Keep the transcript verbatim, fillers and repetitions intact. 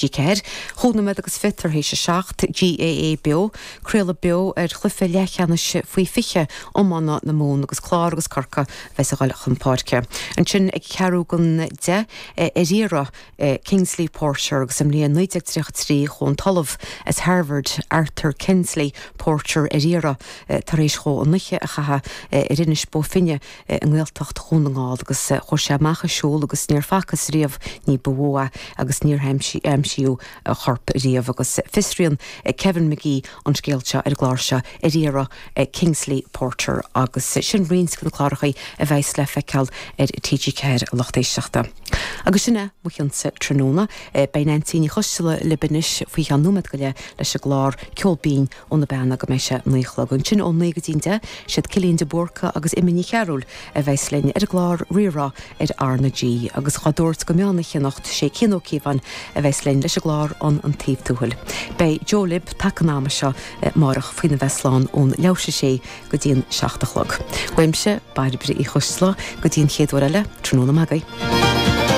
ceathair, Chúig nóiméad agus fiche tar éis a seacht, GAA Beo, craoladh beo ar chluiche leathcheannais faoi fiche iomána na Mumhan agus Clár agus Corcaigh a bheas ag dul chun páirce. Ansin ag ceathrú don deich ar iarraidh Kingsley Porter agus sa mbliain naoi déag tríocha trí chuaigh an tOllamh as Harvard Arthur Kensley Porter ar iarraidh tar éis dhó an oíche a chaitheamh ar Inis Bó Finne i nGaeltacht Dhún na nGall agus chuaigh sé amach ag siúl agus níor facthas riamh ní ba mhó é agus níor aimsíodh a chorp riamh agus fiosraíonn Kevin Magee an scéal seo ar an gclár seo ar iarraidh Kingsley Porter agus sin roinnt de na cláracha a bheas le feiceáil ar T G ceathair a lucht éisteachta. Agus sin é mo chionsa tráthnóna. Beidh Neansaí Ní Choisdealbha libh anois faoi cheann nóiméad go leith leis an gclár Ceol Binn ó na Beanna go mbeidh sé naoi a chlog. Ansin ó naoi go dtí an deich, siad Cillian de Búrca agus Emma Ní Chearúil a bheas linn ar an gclár Rí-Rá ar R na G. Agus dhá dtabhairt go meán oíche anocht, sé Cian Ó Cíobháin a bheas linn leis an gclár An an Taobh Tuathail. Beidh Joe libh taca an ama seo amárach faoina bheith slán ón leathuair tar éis a sé go dtí an seacht a chlog. Uaimse, Bairbre Uí Choisdealbha, go dtí an chéad uair eile, tráthnóna maith agaibh.